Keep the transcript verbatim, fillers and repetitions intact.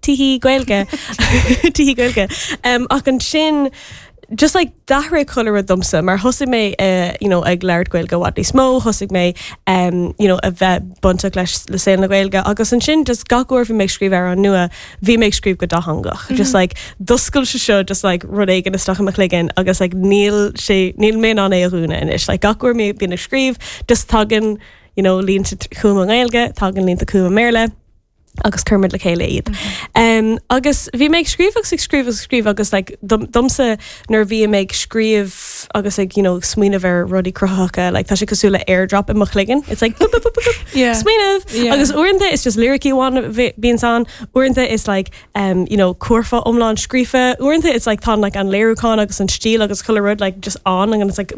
tihí Gaeilge tihí Gaeilge um, ach ansin just like d'athraigh chuile rud domsa mar thosaigh mé uh, you know, ag labhairt Gaeilge i bhfad níos mó thosaigh mé um, you know, a bheith bainteach leis le saol na Gaeilge agus ansin just gach uair bhí mé ag scríobh amhrán nua bhí mé ag scríobh go dátheangach mm -hmm. just like d'oscail sé seo just like rud éigin isteach i mo chloigeann agus like níl sé níl mé in ann é a dhúnadh anois like gach uair mé bíonn ag scríobh just tagann you know, línte chugam i nGaeilge tagann línte chugam i mBéarla agus cuirimid le chéile iad. Um, agus bhí mé ag scríobh agus ag scríobh agus scríobh agus like, dom, domsa nuair bhí mé ag scríobh agus ag you know, smaoineamh ar rudaí cruthaitheacha like, tá sé cosúil le airdrop i mo chloigeann. It's like boop, boop, boop, boop, boop, Yeah. smaoineamh Yeah. agus uaireanta is just lyricí amháin bhíonn ann uaireanta is like um, you know, curfá iomlán scríofa uaireanta it's like tá like an léiriúchán agus an stíl agus chuile rud like just on and it's like